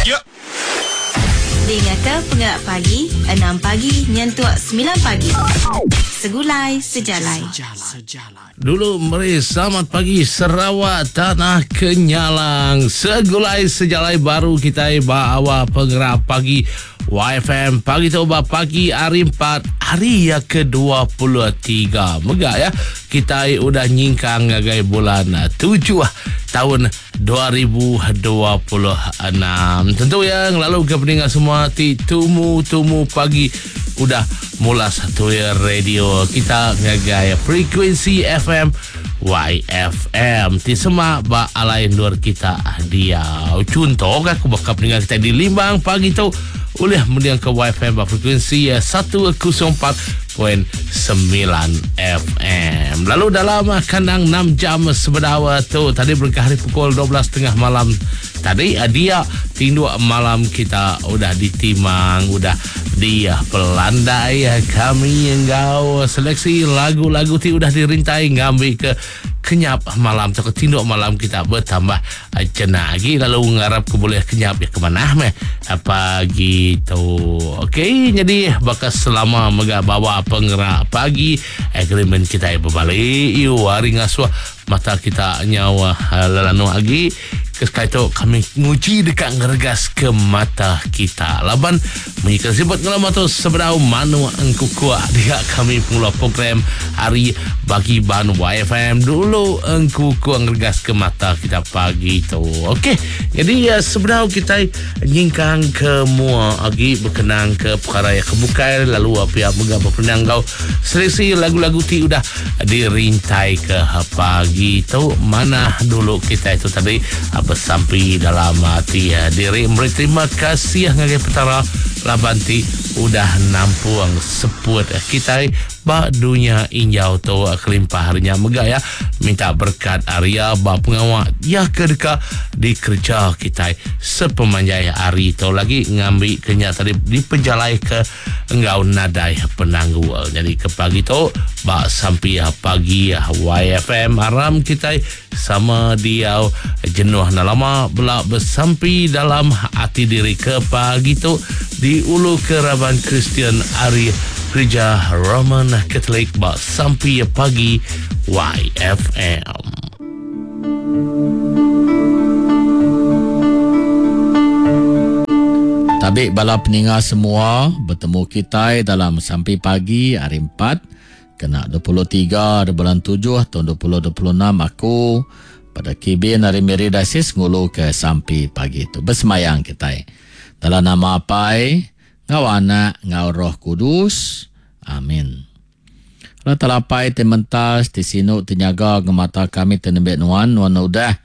Dingaka pengerak pagi enam pagi nyentuk semilan pagi. Segulai sejalai. Dulu meri selamat pagi Sarawak Tanah Kenyalang. Segulai sejalai baru kitai ba awal pengerak pagi YFM pagi tu ba pagi hari 4 hari ya ke-23. Mega ya kitai udah nyingkang ngagai bulan 7 taun 2026. Tentu ya ngelalu ke peninga semua ti tumu-tumu pagi udah mulas tuir radio kita ngagai frekuensi FM YFM ti semak ba alai endur kita diau. Chunto aku baka peninga kita di Limbang pagi tu ulih mending ke YFM ba frekuensi 104.9 FM. Lalu dalam kandang 6 jam sebedau tu tadi berengkah hari pukul 12.30 malam tadi dia tinduk malam kita udah ditimang udah dipelandai kami enggau seleksi lagu-lagu ti udah dirintai ngambi ke kenyap malam tauka tinduk malam kita bertambah jenak agi lalu ngarap ke boleh kenyap ya ke manah meh pagi tu. Okey, jadi baka selama mega bawa pengerak pagi agreement kita berbalik you hari ngasuh mata kita nyau lelanu agi. Ke sekali tu kami nguji deka ngeregas ke mata kita laban munyi ke sibut ngelama tu sebedau manuk engkukuk dia kami pengeluar program hari bagi ban YFM dulu engkukuk ngeregas ke mata kita pagi tu. Okey, jadi sebedau kita nyingkang ke mua agi berkenang ke perkara yang kebukai lalu pihak mega berpenang enggau seleksi lagu-lagu ti udah Dirintai ke pagi tu manah dulu kitai tu tadi besampi dalam ati diri meri terima kasih ngagai Petara laban ti udah nampung seput kitai ba dunya injau tu kelimpah ari nya mega iya minta berkat ari iya ba pengawa iya ke deka dikereja kitai sepemanjai hari tu lagi ngambi ke nya tadi dipejalaika enggau nadai penanggul. Nyadi ke pagi tu ba sampi pagi YFM aram kitai sama diau jenuh enda lama bela besampi dalam ati diri ke pagi tu diulu ke raban Kristian ari Gerija Roman Katolik ba sampi pagi YFM. Tabi bala peninga semua, betemu kitai dalam sampi pagi hari empat kena 23 hari bulan tujuh taun 2026 aku pada kibin ari Miri Diocese ngulu ke sampi pagi tu. Besemayang kitai. Dalam nama Apai, enggau Anak, enggau Roh Kudus. Amin. Allah Taala Apai ti mentas, ti sinu, ti nyaga ngemata kami ti nembiak Nuan, Nuan udah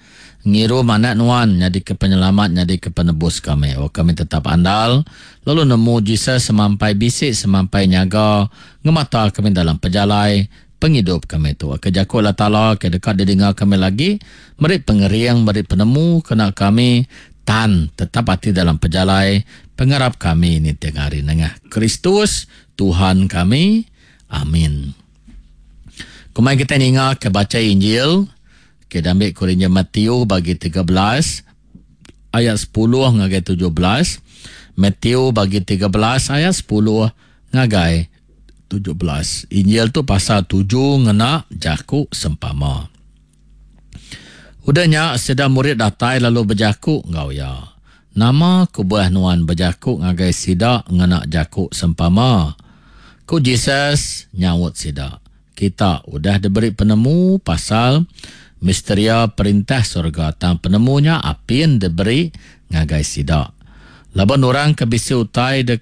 ngirum Anak Nuan nyadika Penyelamat, nyadika Penebus kami. Oh, kami tetap andal lalu nemu Jesus semampai bisi, semampai nyaga ngemata kami dalam pejalai pengidup kami tu. Ke jaku Allah Taala ke deka didinga kami lagi, meri pengering, meri penemu kena kami tan tetap ati dalam pejalai pengarap kami ninting hari nengah Kristus Tuhan kami. Amin. Kumai kita ninga ke baca Injil ke diambil ku Injil Matthew bagi 13 ayat 10 ngagai 17. Matthew bagi 13 ayat 10 ngagai 17. Injil tu pasal tuju ngena jaku sempama. Udah nya, sida murid datai lalu bejaku enggau iya, Nama kebuah nuan bejaku ngagai sida ngena jaku sempama? Ku Jesus nyaut sida, Kita udah diberi penemu pasal misteria Perintah serega, tang penemu nya apin diberi ngagai sida. Laban orang ke bisi utai de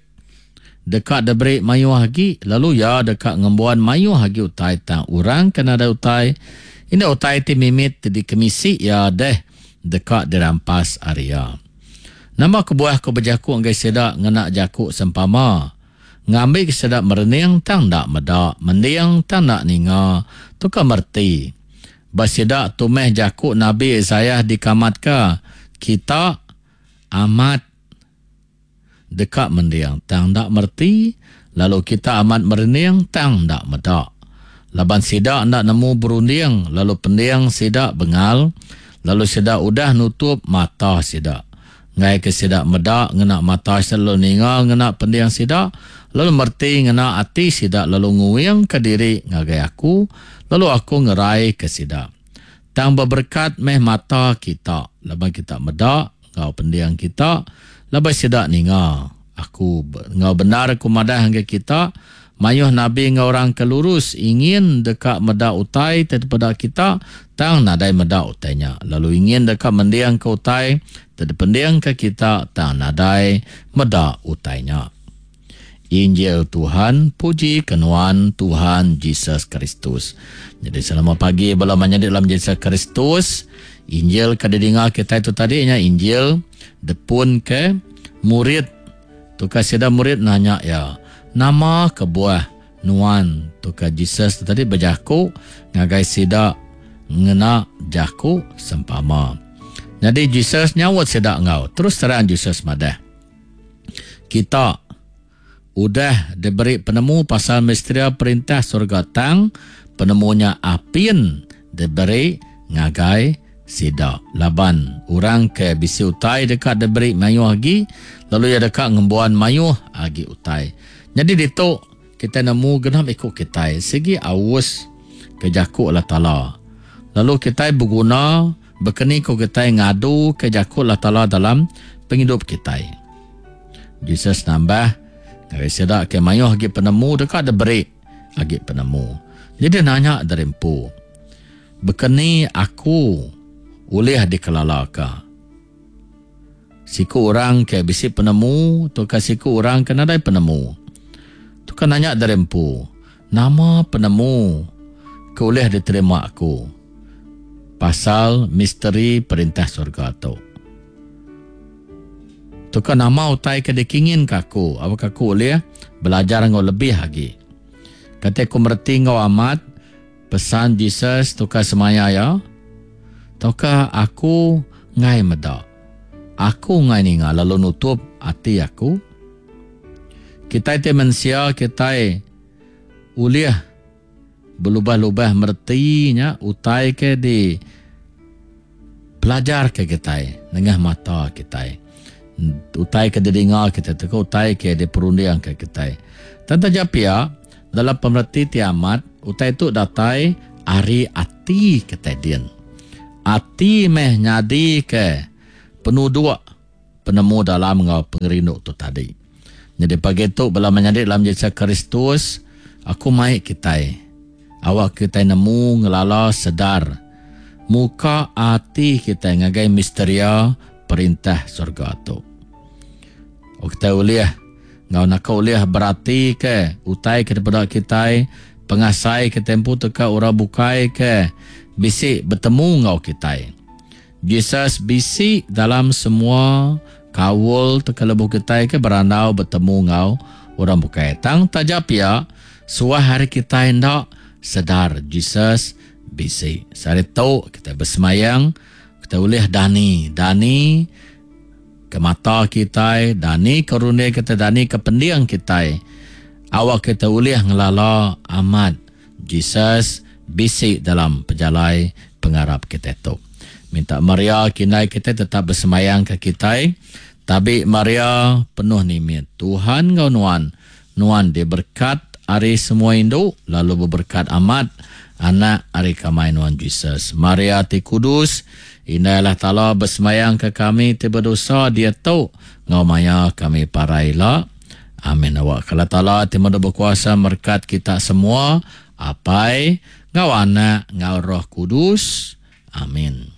Deka diberi mayuh agi, lalu iya deka ngembuan mayuh agi utai tang orang ke nadai utai, indah utai ti mimit ti dikemisi iya deh deka dirampas ari iya. Nama kebuah ku bejaku ngagai sida ngena jaku sempama? Ngambika sida merening tang enda meda, mending tang enda ninga, tauka mereti. Ba sida tu meh jaku Nabi Isaiah dikamatka, Kita amat. Deka mending tang enda mereti, lalu kita amat merening tang enda meda. Laban sida enda nemu berunding, lalu pending sida bengal, lalu sida udah nutup mata sida. Enggai ke sida meda ngena mata sida lalu ninga ngena pending sida, lalu mereti ngena ati sida lalu nguingka diri ngagai Aku, lalu Aku ngeraika sida. Tang beberekat meh mata kita, laban kita meda, enggau pending kita, laban sida ninga. Aku enggau bendar Aku madah ngagai kita, mayuh nabi enggau orang ke lurus ingin deka meda utai ti dipeda kita, tang nadai meda utai nya, lalu ingin deka mendingka utai ti dipendingka kita, tang nadai meda utai nya. Injil Tuhan, puji ke nuan Tuhan Jesus Kristus. Jadi selamat pagi bala menyadi dalam Jesus Kristus. Injil ke didinga kitai tu tadi nya Injil depun ke murid. Tukar sida murid nanya ya, nama kebuah nuan tukar Jesus tu tadi bejaku ngagai sida ngena jaku sempama. Jadi Jesus nyaut sida enggau terus terang Jesus madah. Kita udah diberi penemu pasal misteria perintah surga tang penemu nya apin diberi ngagai sida laban orang ke bisi utai deka diberi mayuh agi lalu iya deka ngembuan mayuh agi utai. Nyadi ditu kitai nemu genap iku kitai sigi aus ke jaku Allah Taala lalu kitai beguna Baka ni ku kitai ngaduka jaku Allah Taala dalam pengidup kitai? Jesus nambah, ngagai sida ke mayuh agi penemu deka diberi agi penemu. Jadi nanya diri empu, Baka ni aku ulih dikelalaka? Siku orang ke bisi penemu tauka siku orang ke nadai penemu? Tauka nanya diri empu, Nama penemu ke ulih diterima aku pasal misteri Perintah Surga tu? Tauka nama utai ke dikinginka aku awakka aku ulih belajar enggau lebih agi? Kati aku mereti enggau amat pesan Jesus tauka semaya iya? Tauka aku enggai meda, aku enggai ninga lalu nutup ati aku? Kitai ti mensia kitai ulih belubah-lubah mereti nya utai ke di pelajar ke kitai nengah mata kitai. Utai ke didinga kitai tauka utai ke diperunding ke kitai. Tang taja pia dalam pemereti ti amat utai tu datai ari ati kitai din. Ati meh nyadi ke penuduk penemu dalam enggau pengerindu tu tadi. Nyadi pagi tu bala menyadi dalam Jesus Kristus, aku mai kitai awak kitai nemu ngelala sedar muka ati kitai ngagai misteria perintah surga tu. O kitai ulih enggau naka ulih berati ke utai ke dipeda kitai, pengasai ke tempu teka orang bukai ke bisi betemu enggau kitai. Jesus bisi dalam semua kaul teka lebuh kitai ke berandau betemu enggau orang bukai. Tang taja pia, suah hari kitai enda sedar Jesus bisi. Sehari tu kitai besemayang, kitai ulih dani, dani ke mata kitai, dani ke runding kitai, dani ke pending kitai. Awak kitai ulih ngelala amat Jesus bisi dalam pejalai pengarap kitai tu. Minta Maria kindai kitai tetap besembayang ke kitai. Tabi Maria penuh nimit Tuhan enggau nuan. Nuan diberkat ari semua indu lalu beberkat amat anak ari kamai nuan Jesus. Maria ti kudus, Indai Allah Taala besembayang ke kami ti bedosa diatu enggau maya kami parai ila. Amin. Awak ke Allah Taala ti meda bekuasa merekat kita semua, Apai, enggau Anak, enggau Roh Kudus. Amin.